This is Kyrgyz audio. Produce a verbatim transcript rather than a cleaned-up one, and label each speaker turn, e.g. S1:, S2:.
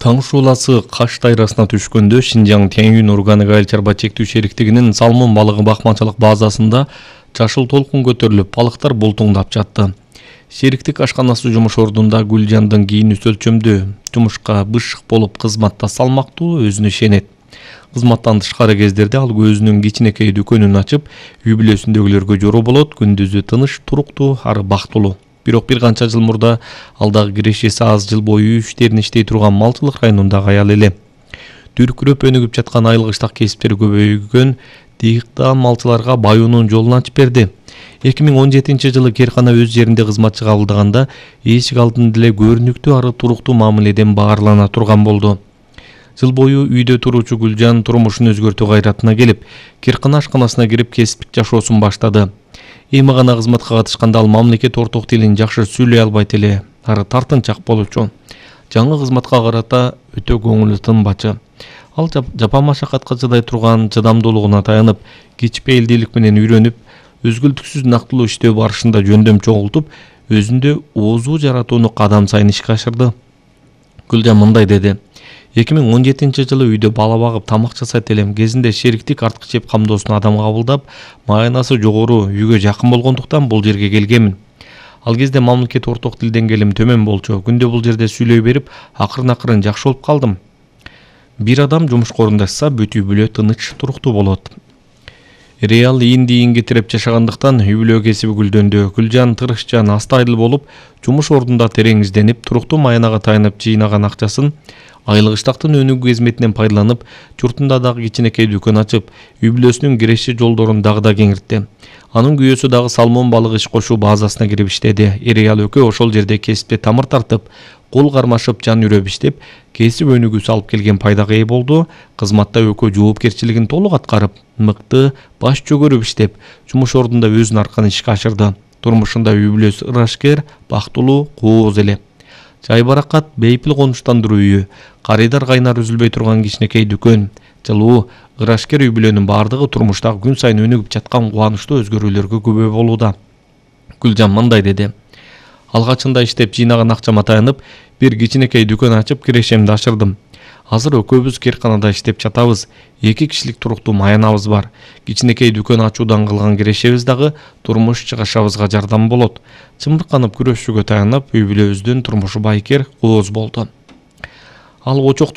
S1: Таң шууласы Каш дайрасына түшкөндө Шинжаң Тянь-Юнь органик айыл чарба чектүү шериктигинин салмон балыгы бакманчылык базасында жашыл толкун көтөрүлүп, балыктар бултуңдап жатты. Шериктик ашканасы жумуш ордунда Гүлжандын кийини өлчөмдө жумушка бышык болуп кызматта салмактуу, өзүнө ишенет. Кызматтан тышкары кездерде ал өзүнүн кичинекей дүкөнүн ачып, үй бүлөсүндөгүлөргө жору болот, күндүзү тыныч, туруктуу, ары бактылуу. Бирок бир канча жыл мурда ал дагы кирешеси аз, жыл бою үй иштерин иштей турган малчылык районундагы аял эле. Дүркүрөп өнүгүп жаткан айылгычтак кесиптер көбөйгөн дыйыктаган малчыларга баюунун жолун ачып берди. эки миң он жетинчи жылы Керкана өз жеринде кызматчы кабылдаганда эшик алдында эле көрүнүктүү ары туруктуу мамиледен баарлана турган болду. Жыл бою үйдө туруучу Гүлжан турмушун өзгөртүү кайратына келип, Керкана ашканасына кирип кесиптик жашоосун баштады. Эми гана кызматка катышканда ал мамлекет орток тилин жакшы сүйлөй албайт эле, ары тартынчак болчу. Жаңы кызматка карата өтө көңүлү тынбачы. Ал жапа машакатка чыдай турган чыдамдуулугуна таянып, кичпейилдүүлүк менен үйрөнүп, өзгөлтүксүз нактылуу иштөө барышында жөндөм чогултуп, өзүндө оозу жаратууну кадам сайын ишке ашырды. Гүлжан мындай деди: эки миң он жетинчи жылы үйдө бала багып тамак жасайт элем. Кезинде шериктик арткы чеп камдоосуна адам кабылдап, маянасы жогору, үйгө жакын болгондуктан бул жерге келгенмин. Ал кезде мамлекет орток тил деңгээлим төмөн болчу. Күндө бул жерде сүйлөй берип, акырын-акырын жакшы болуп калдым. Бир адам жумушка орундашса, бүт үй бүлө тыныч, туруктуу болот. Реал ийин-ийинге тиреп жашагандыктан үй бүлө кесиби гүлдөндү. Гүлжан тырышчан, астайыл болуп, жумуш ордунда терең изденип, туруктуу маянага таянып жыйнаган акчасын айылгычтактын өнүгүү кызметинен пайдаланып, журтунда дагы кичинекей дүкөн ачып, үй бүлөсүнүн киреше жолдорун дагы да кеңиртти. Анын күйөөсү дагы салмон балык иш кошуу базасына кирип иштеди. Эр аял экөө ошол жерде кесипте тамыр тартып, кол кармашып, жан үрөп иштеп, кесип өнүгүүсү алып келген пайдага ээ болду. Кызматта экөө жоопкерчилигин толук аткарып, мыкты, баш чөгөрүп иштеп, жумуш ордунда өзүнүн аркан ишке ашырды. Турмушунда үй бүлөсү ырашкер, бактылуу, кооз эле. Жай баракат, бейпил конуштандыруу үйү, карыйдар кайнар үзүлбөй турган кичинекей дүкөн, жылуу, ырашкер үй бүлөнүн бардыгы турмуштагы күн сайын өнүгүп жаткан кубанычтуу өзгөрүүлөргө күбө болууда. Гүлжан мындай деди: алгачында иштеп жыйнаган акчама таянып, бир кичинекей дүкөн ачып, кирешемди ашырдым. Азыр экөөбүз Керканада иштеп жатабыз. Эки кишилик туруктуу маянабыз бар. Кичинекей дүкөн ачуудан кылган кирешебиз дагы турмуш чыгышабызга жардам болот. Чымырканып күрөшүүгө таянып, үй бүлөбүздүн турмушу байкер, кооз болду. Ал очокту